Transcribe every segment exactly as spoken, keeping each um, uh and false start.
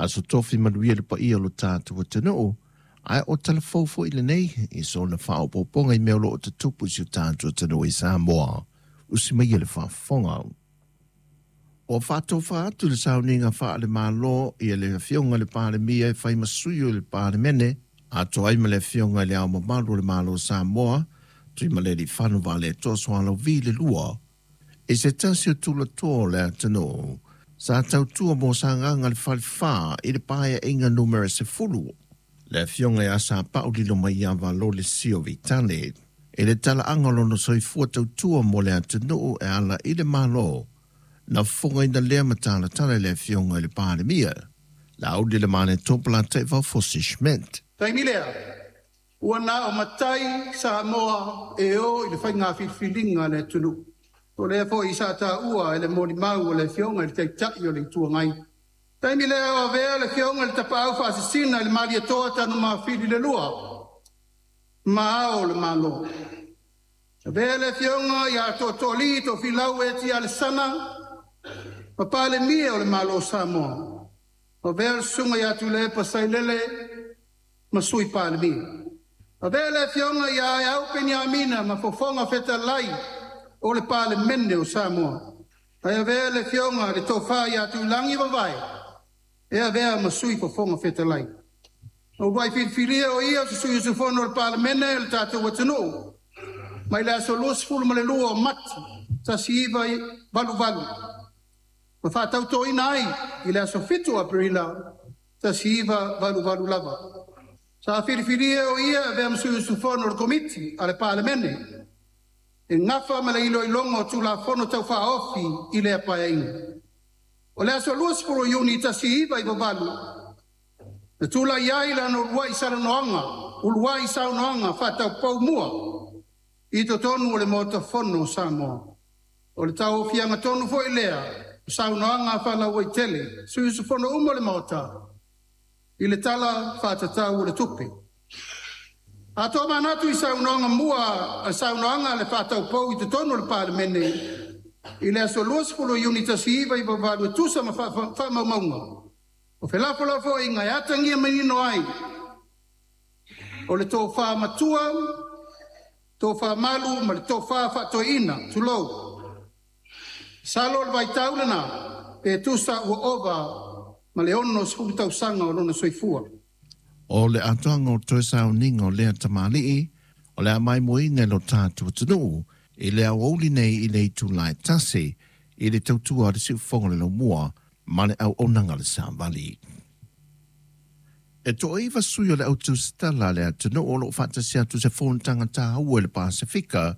Aso tofi manuia le paia o lo tatou atunuu, ae o talafou foi lenei i sona faaopoopoga i mea o lo o tutupu i si o tatou atunuu i Samoa. Usi maia le faafofoga. Ua faatofa atu le sauniga faale-Malo i le afioga i le Palemia e fai ma sui o le Palemene, atoa ai ma le afioga i le Ao Mamalu o le Malo o Samoa, Tuimalealiifano Vaaletoa Sualauvi le lua, i se tasi o tulatoa o le atunuu, sa tautua mo Sagaga le Falefa i le paeaiga numera sefulu, le afioga ia Sapau Lilomaiava Lolesio Vitale, i le talaaga o lona soifua tautua mo le atunuu e ala i le Malo, na fofogaina lea matalatala i le afioga i le Palemia, Laauli Lemale Taivao Fosi Schmidt. Taimi lea, ua na o matai Samoa e o i le faiga filifiliga a le atunuu. O lea foi sa taua e le molimau o le afioga i le Taitai o le Itu Agai. Taimi lea o avea le afioga i le Tapaau Faasisina i le Malietoa Tanumafili le lua, ma ao o le Malo. Avea le afioga ia Tootooalii Tofilau Eti Alesana, ma Palemia o le Malo o Samoa. Avea le susuga ia Tuilaepa Sailele ma Sui Palemia. Avea le afioga ia Aeau Peniamina ma Fofoga Fetalai o le Palemene o Samoa. Ae avea le afioga le Tofa ia Tuilagi Vavae e avea ma Sui Fofoga Fetalai. Na uluai filifilia o ia o se sui usufono o le Palemene o le tatou atunuu mai le aso luasefulu ma le lua o Mati tasi iva valu valu ma faatautoina ai i le aso fitu o Aperila tasi iva valu valu lava. Sa filifilia o ia avea ma sui usufono o le Komiti a le Palemene e gafa ma le iloiloga o Tulafono Taufaaofi i lea paeaiga. O le aso luasefulu o Iuni tasi iva iva valu, na tulai ai lana uluai salanoaga, uluai saunoaga faataupou mua i totonu o le Maota Fono o Samoa. O le tauaofiaga tonu foi lea, o saunoaga faalauaitele, sui usufono uma o le Maota, i le tala faatatau o le tupe. A tomanatu i saunoaga mua, saunoaga le faataupou i totonu o le Palemene, i le aso luasefulu o Iuni tasi iva iva valu e tusa ma faamaumauga. O felafolafoaiga e atagia manino ai, o le tofa matua, tofa malu ma le tofa faatoeaina, tulou. Salo o le vaitau lena, pe tusa ua ova ma le ono sefulu tausaga o lona soifua. O le atoaga o toe sauniga o lea tamalii, o le a maimoaina e lo tatou atunuu, i le aoauli nei i le itula e tasi, i le tautua a le siufofoga o le laumua ma le auaunaga a le savali. E toaiva sui o le au tusitala a le atunuu o lo o faatasi atu se fonotaga taua i le Pasefika,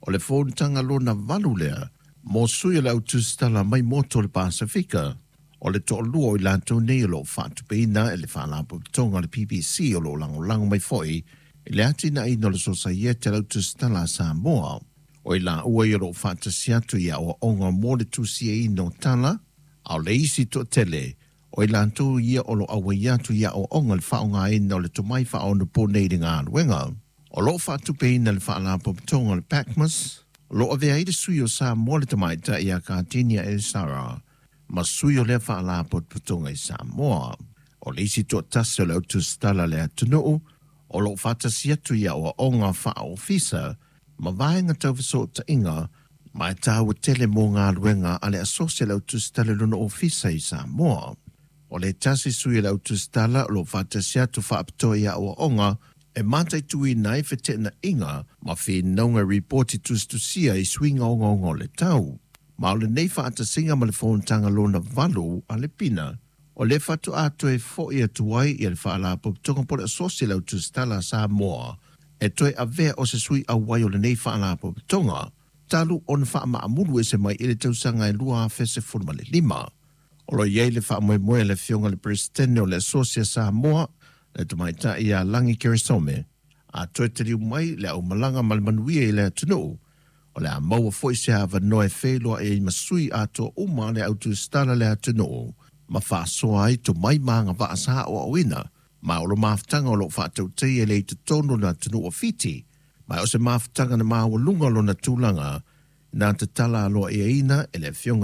o le fonotaga lona valu lea, mo sui o le au tusitala mai motu o le Pasefika, o le toalua o i latou nei o lo o faatupeina e le Faalapotopotoga o le P B C o lo o lagolago mai foi i le atinaeina o le Sosaiete a le au tusitala a Samoa. O i laua ia o lo o faatasi atu i aoaoga mo le tusiaina o tala, a o le isi toatele, o i latou ia o lo o auai atu i aoaoga le faaaogaina o le tomai faaonapo nei i le galuega. O lo o faatupeina le Faalapotopotoga o le P A C M A S, o lo o avea ai le sui o Samoa le tamaitai ia Kardinia Esara, ma sui o lea Faalapotopotoga i Samoa. O le isi toatasi o le au tusitala le atunuu, o lo o faatasi atu i aoaoga faaofisa, ma vaega taufesootaiga, ma e taua tele mo galuega a le asosi a le au tusitala i lona ofisa i Samoa. O le tasi sui o le au tusitala o lo o faatasi atu faapitoa i aoaoga, e mataituina ai fetenaiga ma finauga ripoti tusitusia i suiga ogaoga o le tau. Ma o lenei faatasiga ma le fonotaga lona valu a le Pina, o le faatoa toe foi atu ai ia le Faalapotopotoga po o le asosi a le au tusitala a Samoa, e toe avea o se sui auai o lenei Faalapotopotoga, talu ona faamaamulu ese mai i le tausaga e lua afe sefulu ma le lima. O lo o i ai le faamoemoe a le afioga i le Peresetene o le Asosi a Samoa, le tamaitai ia Lagi Keresome, a toe taliu mai le aumalaga ma le manuia i le atunuu, o le a maua foi se avanoa e feiloai ai ma sui atoa uma le au tusitala le atunuu, ma faasoa ai tomai ma agavaa sa aoaoina, ma o lo mafutaga o lo o faatautaia le i totonu o le atunuu o Fiti, ma o se mafutaga na maualuga lona tulaga, na tatala aloaiaina e le afioga